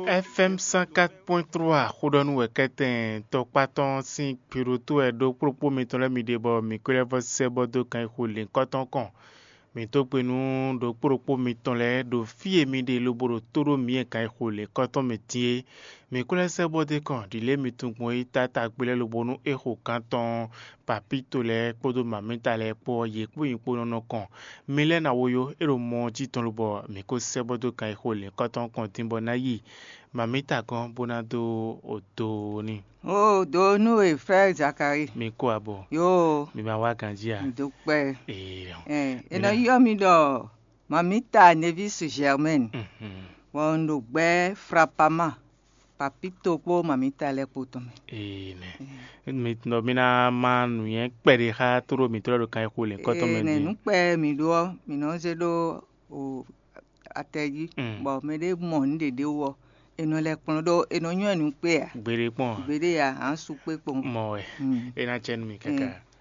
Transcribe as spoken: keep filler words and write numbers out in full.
F M cent quatre point trois xó ɖɔ nú wɛ kɛtɛn tɔkpá tɔn sín kpiɖótó wɛ ɖó kplɔ́kpó mitɔn lɛ́ɛ mi ɖe bɔ mǐ ko lɛ́ vɔ sɛ́ bɔ dó kan e xo lěnkɔ́tɔn kɔn. Mǐ dó gbe nú ɖokpó ɖokpó mitɔn lɛ́ɛ ɖo fí e mi ɖe lobo ɖo tó ɖó mǐ e kan e xo lěnkɔ́tɔn mɛ din é. Mǐ ko lɛ́ sɛ́ bɔ dó kɔn ɖǐ lě mi tunwun gbɔn é táta gbe lɛ́ɛ lobo nú é xo gǎn tɔn papíto lɛ́ɛ kpódó mamíta lɛ́ɛ kpó ɔ́, yě kpó nyí kpó nɔ nɔ kɔn. Mi lɛ́ɛ ná wo yó, é ɖo mɔ ɔ́ jí tɔn lobɔ mǐ ko sɛ́ bɔ dó kan e xo lǐnkɔ́tɔn kɔn din bɔ ná yi mamíta gɔ́n bó ná dó odo n'i. O do nú e frère Zacharie. Mi kó abɔ. Yo, Mi ma wá ganjí a? Mi dó kpɛ. Ee. Ɛ, e nɔ yɔ mi ɖɔ mamita Nevis Germaine. Mhm. Bɔ un ɖo gbɛ Frapama, papito kpó mamita lɛ́ɛ kpó tɔn mɛ. Ee nɛ. Mi nɔ mi ná má nǔnywɛ́ kpɛɖé xá tóɖó mǐtɔn lɛ́ɛ ɖo kan e xo lǐnkɔ́tɔn mɛ Ee, nɛ din. Nǔkpɛ mi ɖó ɔ́, mi nɔ zé ɖó o atɛ jí, Mm. Bɔ mɛ ɖé mɔ nǔ ɖě ɖé wú ɔ́, è nɔ lɛ́ kplɔ́n ɖó è nɔ nywɛ́ nǔ kpé ǎ. Gbeɖé kpɔn a? Gbeɖé ǎ, ǎ su kpé kpɔn. Mɔ wɛ. Mm. É ná cɛ nú mi káká. Mm.